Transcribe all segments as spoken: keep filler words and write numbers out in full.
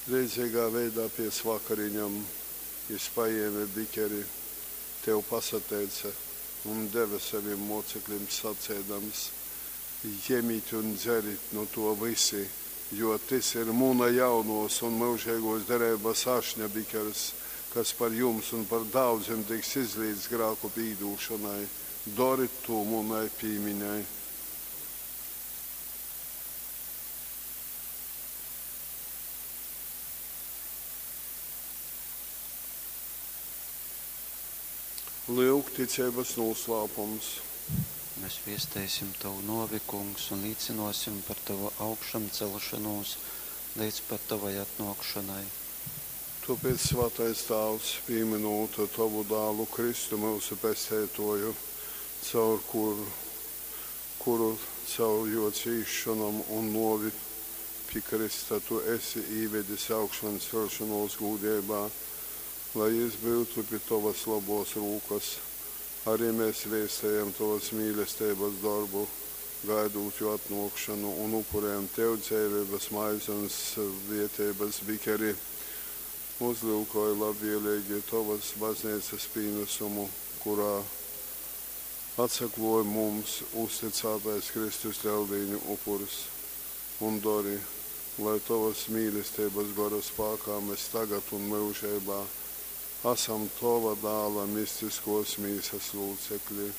Leidzeigā veidā pēc vakariņom jys pajēme bikeri, Tev pasateice un deve sovim mōceklim saceidams, Jemit un dzerit nu tō vysi, jo tys ir muna jaunōs un myužeigōs dereibas ašņa bikers, kas par jums un par daudzim tiks izlīts grāku pīdūšonai. Dorit tū munai pīmiņai. Lyuk, ticeibas nūslāpums. Mēs viesteisim Tovu nōvi, Kungs, un līcynōsim par Tovu augšamcelšonūs leidz pat Tovai atnōkšonai. Tōpēc, svātais Tāvs, pīmynūt Tovu Dālu Kristu, myusu Pesteitōju, caur kuru caur Jō cīsšonom un nōvi pi krysta Tu esi īvedis augšanceļšonōs gūdeibā, lai Jys byutu pi Tovas lobōs rūkas, ari mes vēstejam Tovas mīlesteibas dorbu, gaidūt Jō atnōkšonu, un upurejam Tev dzeiveibas maizi un svēteibas bikeri. Uzlyukoj labvēleigi Tovas Bazneicas pīnasumu, kurā atsaklōj mums uztycātais Kristus Leldīņu upurs, un dori, lai Tovas mīlesteibas Gora spākā mes tagad un myužeibā asam Tova Dāla mistiskōs mīsas lūcekli.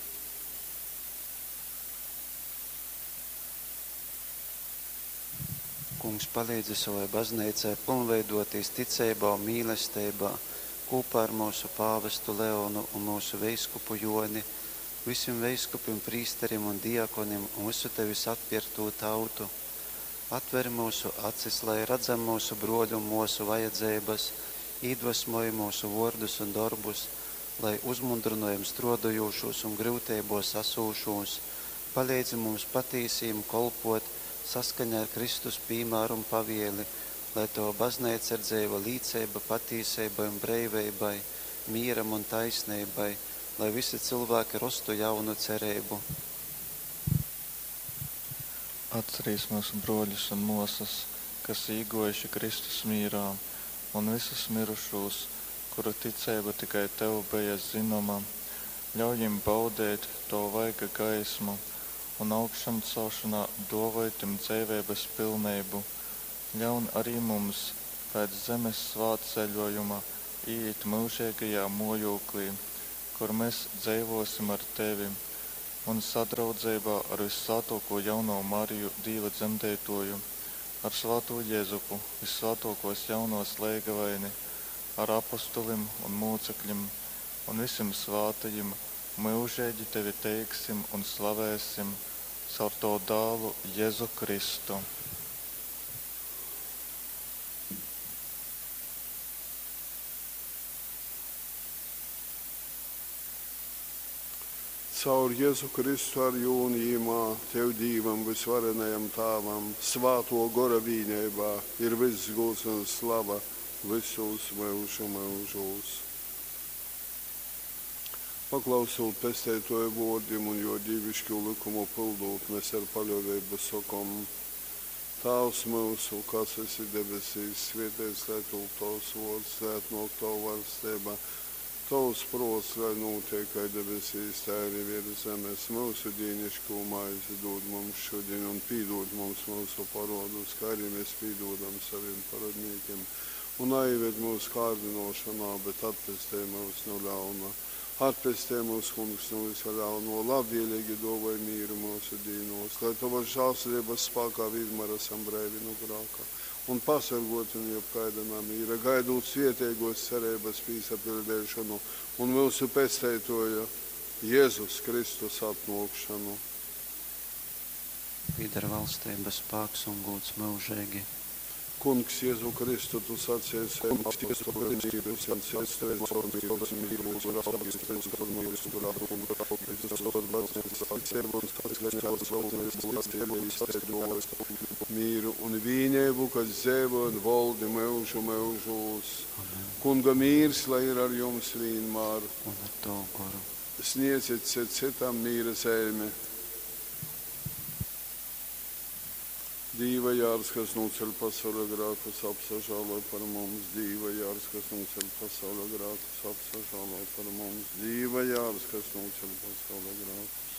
Kungs, palīdzi sovai Bazneicai pylnveidōtīs ticeibā un mīlesteibā kūpā ar myusu pāvestu Leonu un myusu veiskupu Jōni, vysim veiskupim, prīsterim un diakonim un vysu Tevis atpierktū tautu. Atver myusu acis, lai radzam myusu brōļu un mōsu vajadzeibas, īdvesmoj myusu vōrdus un dorbus, lai uzmundrynojam strōdojūšūs un gryuteibōs asūšūs, paleidzi mums patīsi jim kolpōt, saskaņā ar Kristus pīmāru un pavieli, lai Tova Bazneica ir dzeiva līceiba patīseibai un breiveibai, mīram un taisneibai, lai visi cilvēki rostu jaunu cereibu. Atcerīs myusu brōļus un mōsas, kas īgōjuši Kristus mīrā, un vysus myrušūs, kuru ticeiba tikai Tev beja zynoma. Ļauj jim baudeit Tova vaiga gaismu un augšamcelšonā dōvoj tim dzeiveibas pilneibu. Ļaun ari mums pēc zemes svātceļōjuma īit myužeigajā mōjūklī, kur mes dzeivōsim ar Tevi un sadraudzeibā ar vyssvātōkū Jaunovu Mariju, Dīva Dzemdeitōju, ar svātū Jezupu, vyssvātōkōs jaunovas leigavaini, ar apostolim un mūcekļim un vysim svātajim myužeigi Tevi teiksim un slavēsim caur Tovu Dālu Jezu Kristu. Caur Jezu Kristu ar Jū un Jymā, Tev, Dīvam vysvarenajam Tāvam, Svātō Gora vīneibā ir vyss gūds un slava vysūs myužu myužūs. Paklausūt Pesteitōja vōrdim un Jō dīviškū lykumu pyldūt, mes ar paļōveibu sokom, Tāvs myusu, kas esi debesīs, svēteits lai tūp Tovs vōrds, lai atnōk Tova vaļsteiba, Tovs prōts, lai nūteik kai debesīs, tai arī viers zemes. Myusu dīniškū maizi dūd mums šodien un pīdūd mums myusu parodus, kā arī mēs pīdūdam saviem parodnīkiem. Un naieved mūsu kārdinošanā, bet atpestej mūs no ļauna. Atpestej mūs, Kungs, no visa ļauno, labvēlīgi dāvāj mīru mūsu dīnos, lai Tavas žēlsirdības spēkā vienmēr esam breivi no grāka un pasargoti no jebkaida namīra, gaidot svētīgos cerības pīsapildīšanu un mūsu Pesteitoja Jēzus Kristus atnākšanu. Pīdar valstība, spāks un gūds mūžīgi. Kungs, Jēzu Kristu, tu sacīji mīru un vīnību, kas dzīvo un valdi mūžu mūžos. Amen. Kunga mīrs, lai ir ar jums vienmēr. Un ar Tavu goru. Sniedziet cit citam mīra zīmi. Dīva jārs, kas nūceļ pasauļa grākus, apsažāloj par mums. Dīva jārs, kas nūceļ pasauļa grākus, apsažāloj par mums. Dīva jārs, kas nūceļ pasauļa grākus,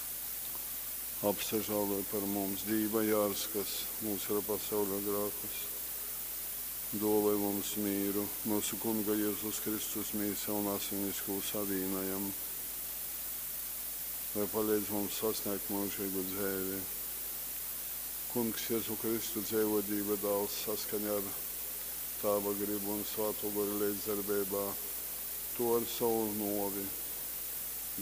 apsažāloj par mums. Dīva jārs, kas nūceļ pasauļa grākus, duovoj mums mīru. Myusu Kunga Jezus Kristus mīsa un asinis, kū savīnojam, lai paleidz mums sasniegt myužīgu dzeivi. Kungs Jezu Kristu dzeivo Dīva dāls saskaņā ar Tāva gribu un Svātō Gora leidzdarbeibā. Tu ar sovu nōvi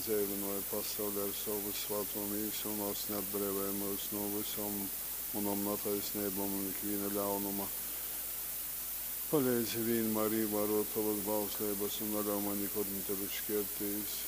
dzeivynōji pasauli ar sovu svātō mīsu un asni atbreivōji myus no vysom munom nataisneibom un ikvīna ļaunuma. Paleidzi vīnmār īvārōt tovas bausleibas un naļauj maņ nikod nu tevis škērtīs.